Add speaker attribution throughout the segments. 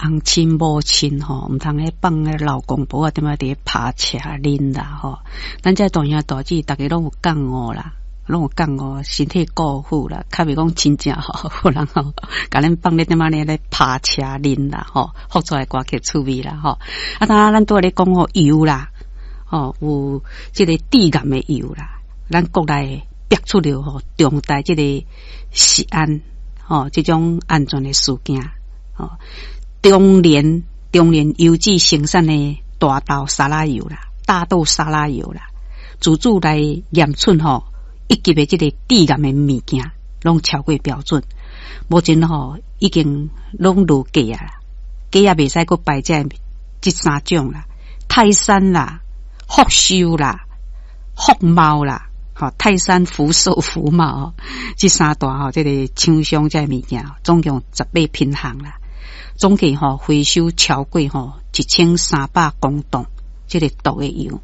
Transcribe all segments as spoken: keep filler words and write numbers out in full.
Speaker 1: 翁親某親吼，毋通咧放咧老公婆啊，踮仔佇咧拍車啉啦吼。咱這大兄大姊，逐家攏有覺悟啦，攏有覺悟，身體顧好啦，較袂講真正吼，有人吼，共恁放咧踮仔咧咧拍車啉啦吼，放出來歌曲趣味啦吼。啊，當咱拄仔咧講吼油啦，吼有這個致癌的油啦，咱國內逼出了吼重大這個食安吼這種安全的事件吼。中聯中聯油脂生產的大豆沙拉油啦，大豆沙拉油啦，自主來驗出吼一級的這個致癌的物件，攏超過標準。目前吼已經攏落架啊，架也袂使閣擺這這三種啦，泰山啦、福壽啦、福茂啦，吼泰山、福壽、福茂這三大吼這個廠商這物件，總共十八品項啦。總計吼回收超過吼一千三百公噸這個毒的油。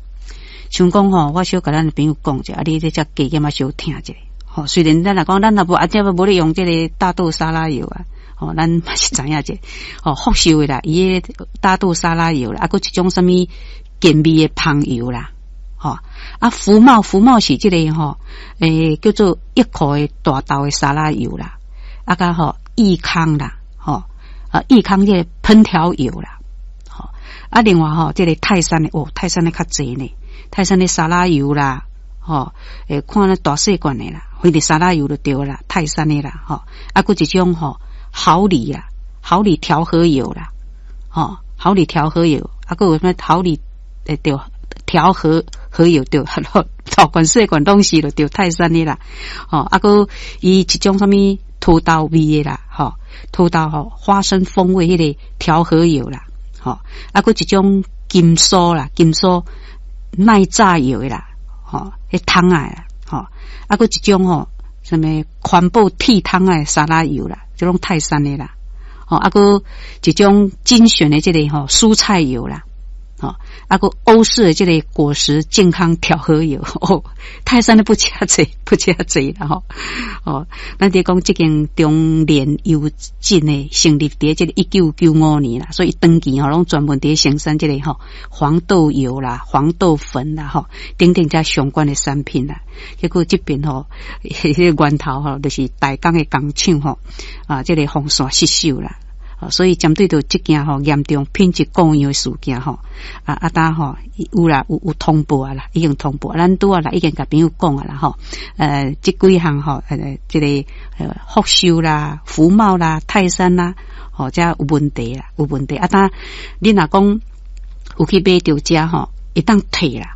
Speaker 1: 像講吼，我小共咱朋友講者，啊，你這遮加減仔小聽者。吼，雖然咱若講咱若無啊，這無咧用這個大豆沙拉油啊，吼，咱嘛是知影者。吼，福壽的啦，伊个大豆沙拉油啦，啊，閣一種啥物健胃的芳油啦，吼，啊，福茂福茂是這個吼，欸，叫做一口的大豆的沙拉油啦，啊，佮吼益康啦，吼。啊，益康這個烹調油啦，吼啊，另外吼，這個泰山的哦，泰山的較濟呢，泰山的沙拉油啦，吼，欸，看那大細罐的啦，反正沙拉油就對啦，泰山的啦，吼，啊，閣一種吼好禮啦，好禮調和油啦，吼，好禮調和油，啊，閣有啥物好禮欸對，調和和油對，大罐細罐攏是就對泰山的啦，吼，啊，閣伊一種啥物土豆味的啦，吼。土豆吼花生風味彼個調和油啦，吼，啊，閣一種金酥啦，金酥耐炸油的啦，吼，彼桶仔啦，吼，啊，閣一種吼，啥物環保鐵桶仔沙拉油啦，這攏泰山的啦，吼，啊，閣一種精選的這個吼蔬菜油啦，吼，啊，閣歐式的這個果實健康調和油，哦，泰山的不遮濟，不遮濟啦吼，哦，咱佇講這間中聯油脂的成立佇這個一九九五年啦，所以長期吼攏專門佇生產這個吼黃豆油啦、黃豆粉啦吼等等這相關的產品啦。結果這邊吼，彼個源頭吼，就是大港的工廠吼，啊，這個防線失守啦。所以針對著這件吼嚴重品質故障的事件吼，啊啊當吼有啦有有通報啊啦，已經通報，咱拄仔啦已經共朋友講啊啦吼，呃，這幾項吼，呃，這個呃福壽啦、福茂啦、泰山啦，吼，這有問題啦，有問題。啊，當你若講有去買著這吼，會當退啦。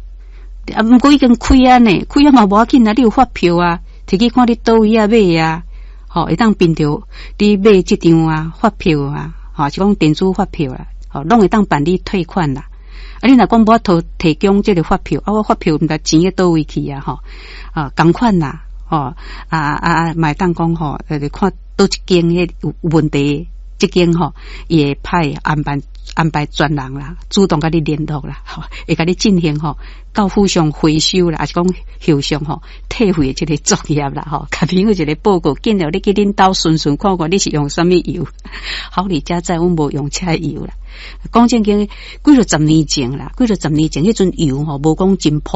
Speaker 1: 啊，毋過已經開啊呢，開啊嘛無要緊啊，你有發票啊，提去看你佗位仔買啊。吼，會當憑著你買這張啊發票啊，吼，是講電子發票啦，吼，攏會當辦理退款啦。啊，你若講無法度提供這個發票，啊，我發票毋知錢佇佗位去啊，吼，啊，仝款啦，吼，啊啊啊，嘛會當講吼，呃，看佗一間彼有有問題，這間吼，伊會派安排安排專人啦，主動共你聯絡啦，吼，會共你進行吼，到府上回收啦，抑是講後續吼退費的這個作業啦，吼，共朋友一個報告，緊了你去恁兜巡巡看看你是用啥物油，好哩才知阮無用這油啦。講正經，幾落十年前啦，幾落十年前，彼陣油吼無講真普